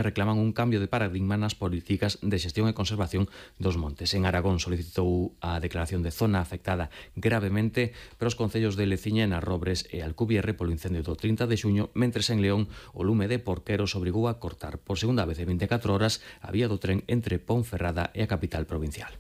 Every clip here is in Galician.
reclaman un cambio de paradigma nas políticas de xestión e conservación dos montes. En Aragón solicitou a declaración de zona afectada gravemente para os concellos de Leciñena, Robres e Alcubierre polo incendio do 30 de xuño, mentres en León o lume de Porqueros obrigou a cortar por segunda vez en 24 horas a vía do tren entre Ponferrada e a capital provincial.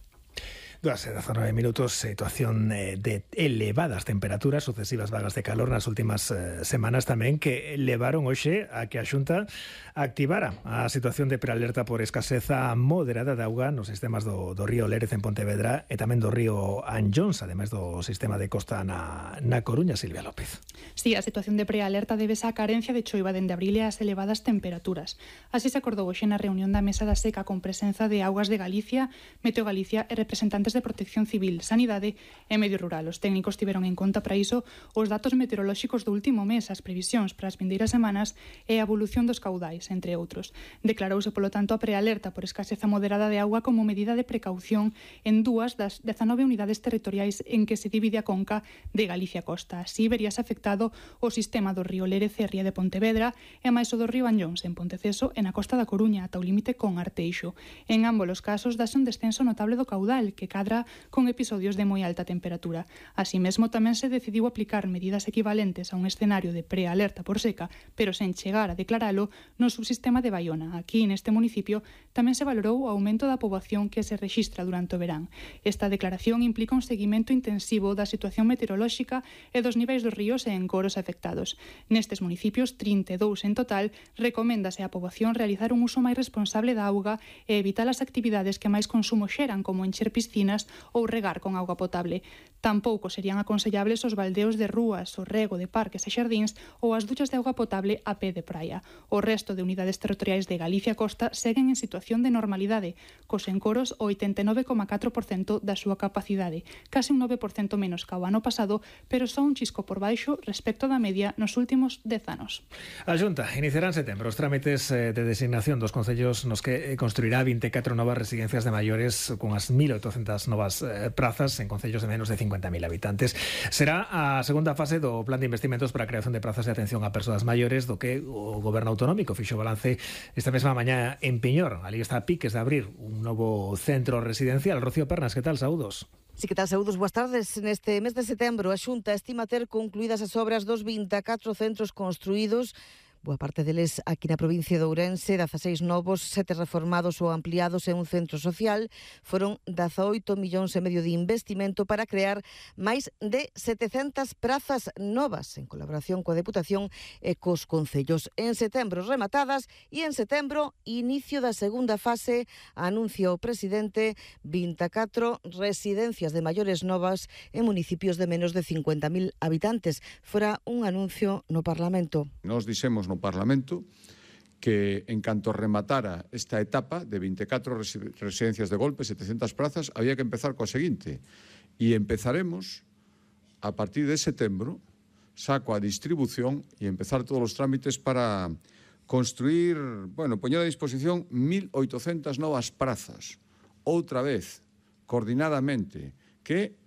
2:19 minutos, situación de elevadas temperaturas, sucesivas vagas de calor nas últimas semanas tamén, que levaron hoxe a que a Xunta activara a situación de prealerta por escaseza moderada de auga nos sistemas do río Lérez en Pontevedra e tamén do río Anllóns, ademais do sistema de costa na Coruña. Silvia López. Sí, a situación de prealerta debese á carencia de choiva dende abril e ás elevadas temperaturas. Así se acordou hoxe na reunión da Mesa da Seca con presenza de Augas de Galicia, Meteo Galicia e representantes de Protección Civil, Sanidade e Medio Rural. Os técnicos tiveron en conta para iso os datos meteorolóxicos do último mes, as previsións para as vindeiras semanas e a evolución dos caudais, entre outros. Declarouse, polo tanto, a prealerta por escaseza moderada de auga como medida de precaución en 2 das 19 unidades territoriais en que se divide a conca de Galicia Costa. Así veríase afectado o sistema do río Lérez e Ría de Pontevedra e máis o do río Anllóns en Ponteceso e na costa da Coruña ata o límite con Arteixo. En ambos os casos dase un descenso notable do caudal que cadra con episodios de moi alta temperatura. Así mesmo tamén se decidiu aplicar medidas equivalentes a un escenario de prealerta por seca, pero sen chegar a declaralo no subsistema de Baiona. Aquí, neste municipio, tamén se valorou o aumento da poboación que se rexistra durante o verán. Esta declaración implica un seguimento intensivo da situación meteorolóxica e dos niveis dos ríos e encoros afectados. Nestes municipios, 32 en total, recoméndase á poboación realizar un uso máis responsable da auga e evitar as actividades que máis consumo xeran, como encher piscinas ou regar con auga potable. Tampouco serían aconsellables os baldeos de rúas, o rego de parques e xardíns ou as duchas de auga potable a pé de praia. O resto de unidades territoriais de Galicia Costa seguen en situación de normalidade, cos encoros o 89,4% da súa capacidade, case un 9% menos ca o ano pasado, pero só un chisco por baixo respecto da media nos últimos 10 anos. A Xunta iniciará en setembro os trámites de designación dos concellos nos que construirá 24 novas residencias de maiores con as 1.800 novas prazas en concellos de menos de 50.000 habitantes. Será a segunda fase do plan de investimentos para a creación de prazas de atención a persoas maiores do que o Goberno Autonómico fixo balance esta mesma mañá en Piñor. Ali está a piques de abrir un novo centro residencial. Rocío Pernas, que tal? Saúdos. Sí, que tal, saúdos, boas tardes. Neste mes de setembro, a Xunta estima ter concluídas as obras dos 24 centros construídos, boa parte deles aquí na provincia de Ourense, 16 novos, 7 reformados ou ampliados e un centro social. Foron 18,5 millóns de investimento para crear máis de 700 prazas novas en colaboración coa Deputación e cos concellos. En setembro rematadas e en setembro inicio da segunda fase, anuncia o presidente, 24 residencias de maiores novas en municipios de menos de 50.000 habitantes. Fora un anuncio no Parlamento. Nos dixemos no Parlamento que en canto rematara esta etapa de 24 residencias de golpe, 700 prazas, había que empezar coa seguinte. E empezaremos a partir de setembro, saco a distribución e empezar todos os trámites para construir, poñer a disposición 1.800 novas prazas, outra vez, coordinadamente, que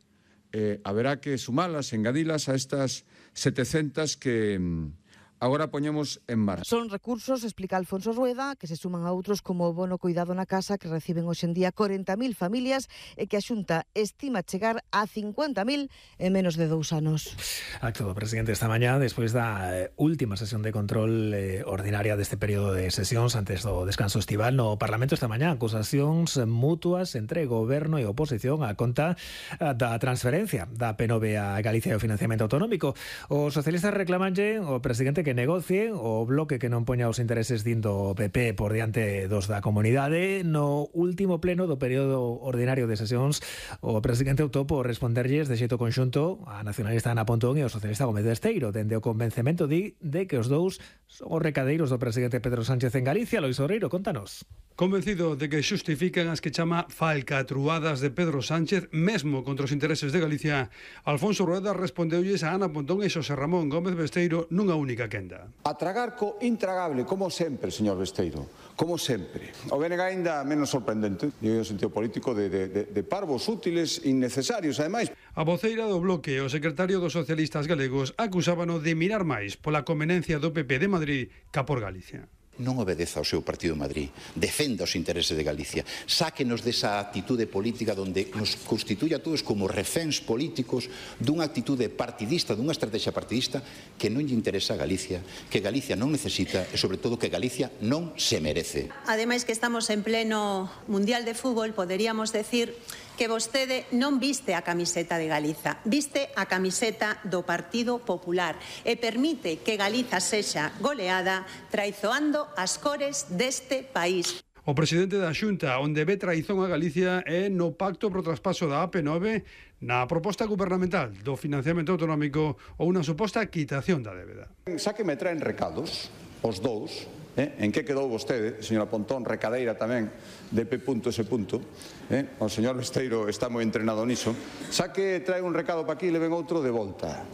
haberá que sumalas, engadilas a estas 700 que agora poñemos en marcha. Son recursos, explica Alfonso Rueda, que se suman a outros como o bono cuidado na casa que reciben hoxe en día 40.000 familias e que a Xunta estima chegar a 50.000 en menos de 2 anos. Acto do presidente esta mañá, despois da última sesión de control ordinaria deste período de sesións antes do descanso estival no Parlamento esta mañá, acusacións mutuas entre goberno e oposición a conta da transferencia da P9 a Galicia e o financiamento autonómico. Os socialistas reclamanlle ao presidente que negocie o bloque que non poña os intereses dindo PP por diante dos da comunidade. No último pleno do período ordinario de sesións, o presidente optou por responderlles de xeito conxunto a nacionalista Ana Pontón e o socialista Gómez Besteiro, dende o convencemento de que os dous son os recadeiros do presidente Pedro Sánchez en Galicia. Lois Orreiro, contanos. Convencido de que xustifican as que chama falcatruadas de Pedro Sánchez, mesmo contra os intereses de Galicia, Alfonso Rueda respondeulles a Ana Pontón e Xosé Ramón Gómez Besteiro nunha única quenda. A tragar co intragable, como sempre, señor Besteiro, como sempre. O BNG ainda menos sorprendente, digo o sentido político de parvos útiles, innecesarios, ademais. A voceira do bloque, o secretario dos socialistas galegos, acusábano de mirar máis pola conveniencia do PP de Madrid ca por Galicia. non obedeza ao seu partido en Madrid, defenda os intereses de Galicia, sáquenos desa actitude política onde nos constituye a todos como reféns políticos dunha actitude partidista, dunha estrategia partidista que non lle interesa a Galicia, que Galicia non necesita e, sobre todo, que Galicia non se merece. Ademais que estamos en pleno Mundial de Fútbol, poderíamos decir que vostede non viste a camiseta de Galiza, viste a camiseta do Partido Popular e permite que Galiza sexa goleada traizoando as cores deste país. O presidente da Xunta, onde ve traizón a Galicia, é no pacto pro traspaso da AP9, na proposta gubernamental do financiamento autonómico ou unha suposta quitación da débeda. Xa que me traen recados, os dous, en que quedou vostede, señora Pontón, recadeira tamén de P.S. O señor Besteiro está moi entrenado niso, xa que trae un recado para aquí e le ven outro de volta,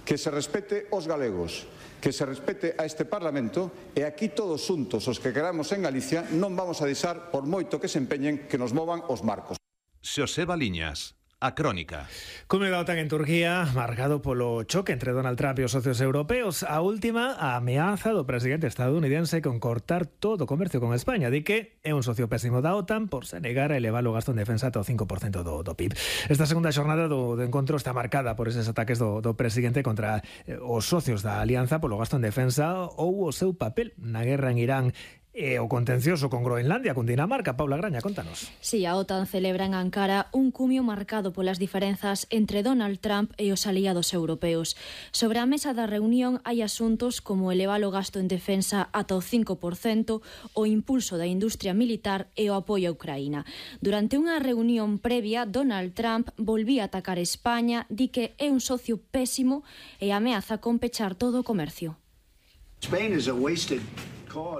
que se respete os galegos, que se respete a este Parlamento e aquí todos xuntos os que queramos en Galicia non vamos a deixar, por moito que se empeñen, que nos movan os marcos. Xoseba Liñas. A Crónica. Come da OTAN en Turquía, marcado polo choque entre Donald Trump e os socios europeos. A última, a ameaza do presidente estadounidense con cortar todo o comercio con España. Di que é un socio pésimo da OTAN por se negar a elevar o gasto en defensa ata o 5% do PIB. Esta segunda xornada do encontro está marcada por eses ataques do presidente contra os socios da alianza polo gasto en defensa ou o seu papel na guerra en Irán e o contencioso con Groenlandia, con Dinamarca. Paula Graña, contanos. Si, a OTAN celebra en Ankara un cumio marcado polas diferenzas entre Donald Trump e os aliados europeos. Sobre a mesa da reunión hai asuntos como elevar o gasto en defensa ata o 5%, o impulso da industria militar e o apoio a Ucraína. Durante unha reunión previa, Donald Trump volvía a atacar España, di que é un socio pésimo e ameaza con pechar todo o comercio.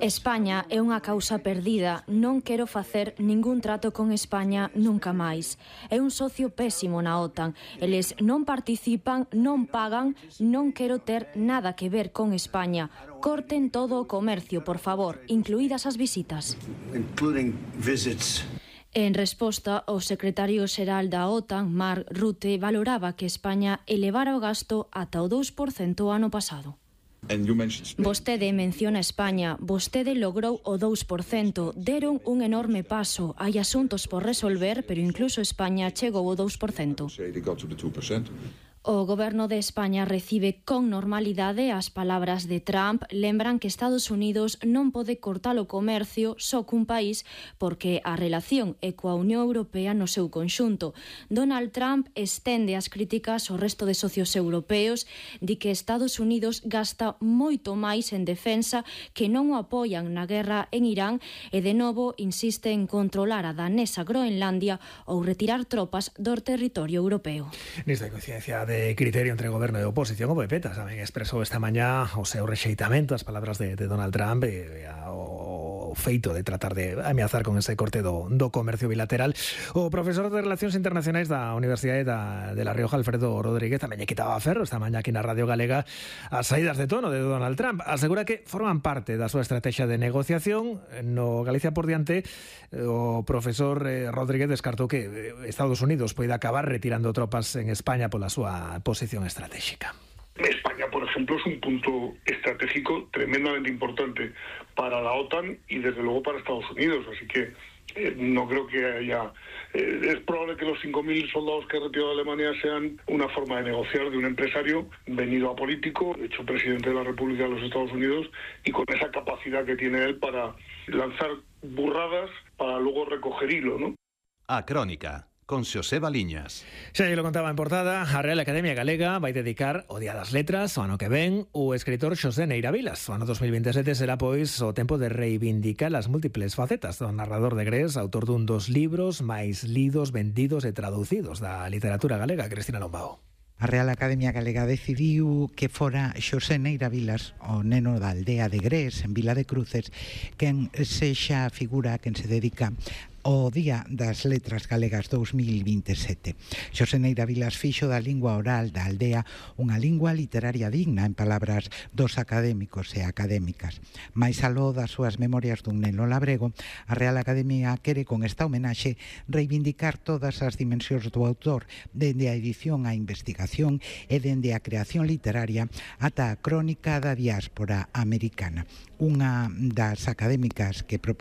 España é unha causa perdida, non quero facer ningún trato con España nunca máis. É un socio pésimo na OTAN. Eles non participan, non pagan, non quero ter nada que ver con España. Corten todo o comercio, por favor, incluídas as visitas. En resposta, o secretario xeral da OTAN, Mark Rutte, valoraba que España elevara o gasto ata o 2% o ano pasado. Vostede menciona España, vostede logrou o 2%, deron un enorme paso, hai asuntos por resolver, pero incluso España chegou ao 2%. O goberno de España recibe con normalidade as palabras de Trump. Lembran que Estados Unidos non pode cortar o comercio só cun país porque a relación é coa Unión Europea no seu conxunto. Donald Trump estende as críticas ao resto de socios europeos, di que Estados Unidos gasta moito máis en defensa, que non o apoian na guerra en Irán e de novo insiste en controlar a danesa Groenlandia ou retirar tropas do territorio europeo. Nesta coincidencia de criterio entre goberno e oposición, o PP tamén expresou esta mañá o seu rexeitamento ás palabras de Donald Trump e ao feito de tratar de ameazar con ese corte do comercio bilateral. O profesor de Relacións Internacionais da Universidade de La Rioja, Alfredo Rodríguez, tamén lle quitaba ferro esta mañá aquí na Radio Galega as saídas de tono de Donald Trump. Asegura que forman parte da súa estrategia de negociación. No Galicia por diante, o profesor Rodríguez descartou que Estados Unidos poida acabar retirando tropas en España pola súa posición estratégica. España, por ejemplo, es un punto estratégico tremendamente importante para la OTAN y desde luego para Estados Unidos, así que no creo que haya... es probable que los 5.000 soldados que ha retirado Alemania sean una forma de negociar de un empresario venido a político, hecho presidente de la República de los Estados Unidos, y con esa capacidad que tiene él para lanzar burradas para luego recoger hilo, ¿no? A Crónica, con Xoseba Liñas. Xa lo contaba en portada, a Real Academia Galega vai dedicar o Día das Letras o ano que ven o escritor Xosé Neira Vilas. O ano 2027 será, pois, o tempo de reivindicar as múltiples facetas do narrador de Grés, autor dun dos libros máis lidos, vendidos e traducidos da literatura galega. Cristina Lombao. A Real Academia Galega decidiu que fora Xosé Neira Vilas, o neno da aldea de Grés, en Vila de Cruces, quen sexa a figura quen se dedica o Día das Letras Galegas 2027. Xosé Neira Vilas fixo da lingua oral da aldea unha lingua literaria digna, en palabras dos académicos e académicas. Mais aló das súas memorias dun neno labrego, a Real Academia quere con esta homenaxe reivindicar todas as dimensións do autor, dende a edición á investigación e dende a creación literaria ata a crónica da diáspora americana. Unha das académicas que propuña